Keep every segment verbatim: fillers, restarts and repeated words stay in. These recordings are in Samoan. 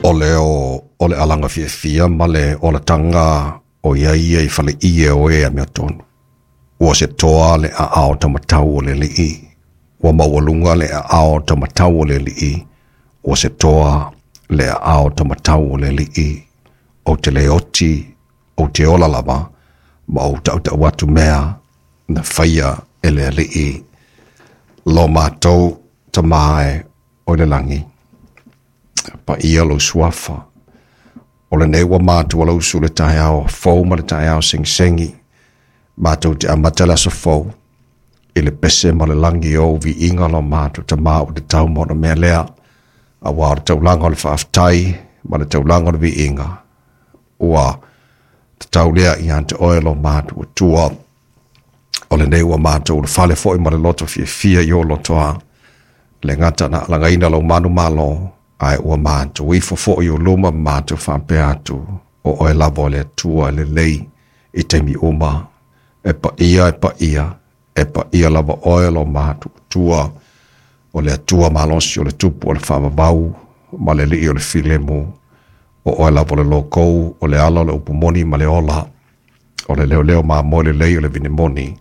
O le o, o le alaga fiafia ma le olataga o ia ia i fale ie o e a mea tonu. Ua se toa le a ao tamatau o le lii. Ua maualuga le a ao tamatau o le lii. Ua se toa le a ao tamatau o le lii. O te le oti, o te ola lava, ma o tau atu mea na whaia e le alii. Lo mātou tamae o le langi. Pa ia lo suafa. O le nei ua mātou lau su le taeao fou ma le taeao sengisengi. Mātou te amata le aso fou. I le pese ma le langi o vi inga lo mātou ta mā o te tau mona mea lea. A wā o le taulanga o le whaaftai ma le taulanga o le vi inga. Ua te tau lea i ante oe lo mātou o tua. O le nei ua mātou o le fale foi ma le loto fia fia i o lotoa. Le ngata na langaina lo manu malo. Ai ua mātou ifo fo i o luma mātou whaapea atu o oe lava o le atua le lei i teimi uma. E pa ia, e pa ia, e pa ia lava oe lo mātou tua o le atua malosi o le tupu o le whaavavau ma le lii o le filemu o oe lava o le lokou o le ala o le upumoni ma le ola o le leo leo maa moe le lei o le vinemoni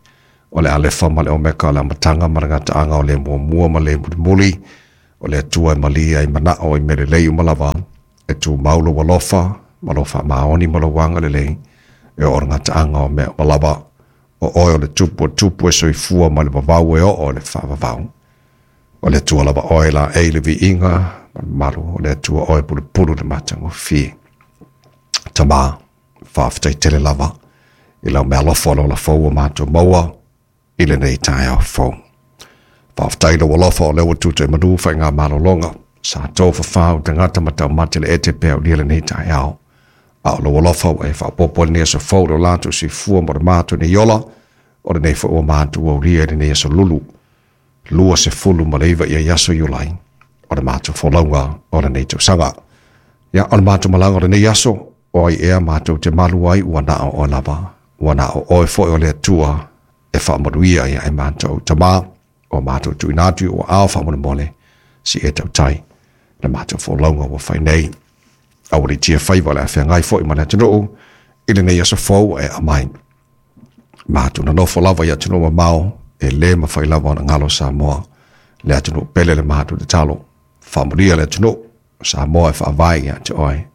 o le alefa ma le omeka o le amatanga ma le ngataanga o le muamua ma le mulimuli o le atua e malia i manao i mele lei umalava e tū maulo walofa ma lo whaamaoni ma lo wanga le lei e o ngataanga o mea malava o oe o le tupu o tupu e soifua ma le vavau e o o le whaavavau o le atua lava oe la e le viinga ma le malu o le atua oe pulupulu le matagofie. Tama whaaftai tele lava i lau mea alofa o le ola fou o mātou maua i lenei taeao fou. Whaaftai lo walofa o lewa tuta e manu whai ngā malolonga. Sa tō whawhau te ngata matau mate le ete pēr o lia lenei taeao. A o lo walofa o e whapopo le nea sa fou lo lātou si fua mo le mātou ni iola o le nei fo o mātou o lia le nea sa lulu. Lua se fulu ma leiva ia iaso iulai o le mātou folaunga o le nei tausaga. Ia o le mātou malanga o le nei aso o ai ea mātou te malu ai ua nao o lava. Ua nao oe foi o le atua e whaamaruia ia e mātou tamā o mātou tuinatu o ao whaamone si e tautai le mātou folaunga ua whai nei. A ua tia whaiva le awhea ngai foi ma le atunuu i le nei aso fou e amai. Mātou na nofo lava i atunuu mamao e le mawhai lava ona ngalo Samoa. Le atunuu pele le mātou te talo. Whaamaria le atunuu Samoa e whaavai ia te oe.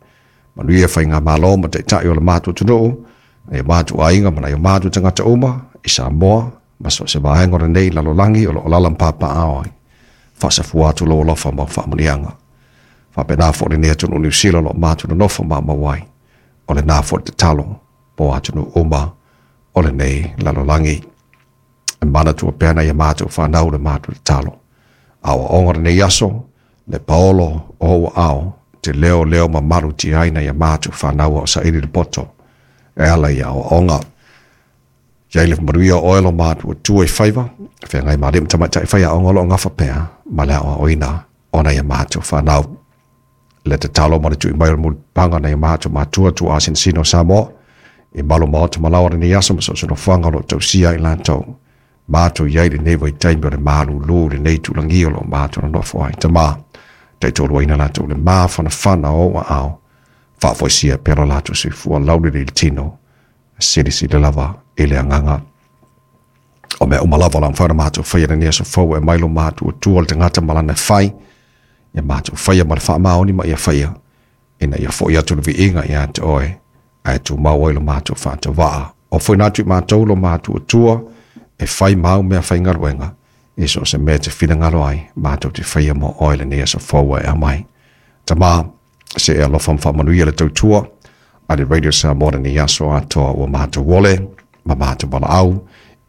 Manuia whai ngā malo ma te tai o le mātou atunuu e mātou ainga mana i o mātou tangata uma i Samoa ma so se vaenga o nei lalolangi o lo olala mpapa aoi. Whasafua atu lo alofa ma whaamunianga. Whapena fo le nei atunuu Niu Sila lo mātou na nofo ma mawai. O le nā fo te talo po atunuu uma o le nei lalolangi. E mana tua pena ia mātou whanau le mātou te talo. Awa onga le nei aso, le paolo o hoa ao, te leo leo ma maru ti aina ia mātou whanau o sa ili le poto. E ala ia o onga. Ia ile maruia o elo mātou tua i whaiva, whea ngai mā lim tamaitai whaia o ngolo o ngawha pea, ma leo a oina, ona ia mātou whanau. Le te talo ma le tui mai o le panga na ia mātou mātua tua asin sino Samoa, i malo maota malawa ni aso ma so so no whanga lo tausia i lātou. Mātou iai le nei vai taimi o le mālu lū le nei tulangi o lo mātou na nofo ai tamā. Tei tōru aina lātou le mā whana whana o wa ao. Whaafoisia pera lātou se fua laure le tino. Siri siri lava i le anganga. O mea umalava la mwhaina mātou whaia le nea so fau e mailo mātou o tua le tangata malana whai. Ia mātou whaia ma le whaamaoni ma ia whaia. Ina ia fo ia atu le viinga ia te oe. Ae tū mau ai lo mātou whaata waa. O fwoi nātu i mātou lo mātou o tua e whai mau mea whai ngaruenga. E so se mea te whina ngaro ai mātou te whaia mo oe le nea so fau e amai. Tamā se e alofa mwhaamanuia le tautua a le Radio Samoa ni aso atoa ua mātou wole ma mātou wala au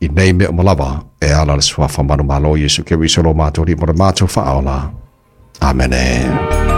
i nei mea malawa e ala le suafa manu malo Yesu Keriso lo mātou li mo le mātou whaola. Amene.